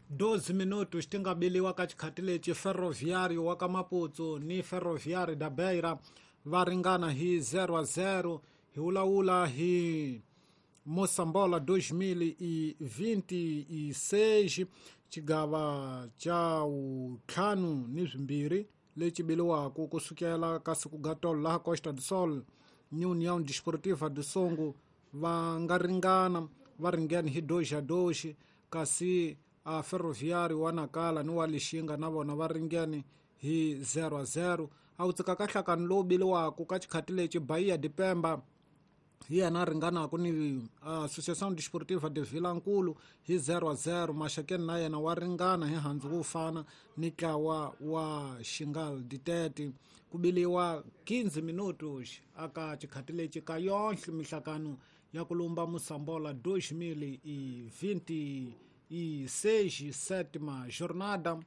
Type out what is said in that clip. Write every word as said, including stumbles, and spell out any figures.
doze minutos ti nga biliwa ka xikhati lexi Ferroviário wa ka Maputo ni Ferroviário da Beira va ringana hi zero a zero. Hi vulavula hi Moçambola dois mil e vinte e seis, xigava xa ntlhanu ni swimbirhi lexi biliwaka kusukela ka siku ga tolo laha Costa do Sol ni União Desportiva do Songo va nga ringana, va ringene hi dois a dois, kasi a Ferroviário wa Nacala ni wa Lixinga na vona va ringene hi zero a zero. A wu tsika ka nhlakano lowu biliwaka ka xikhati lexi Bahia de Pemba hi yena a ringanaka ni Associação Desportiva de Vilankulu hi zero a zero. Maxakeni na yena wa ringana hi handzu wo fana ni ntlawa wa Xingal Ditete. Ku biliwa quinze minutos aka xikhati lexi ka yonhle mihlakano ya ku lumba Moçambola dois mil e vinte e seis, sétima jornada.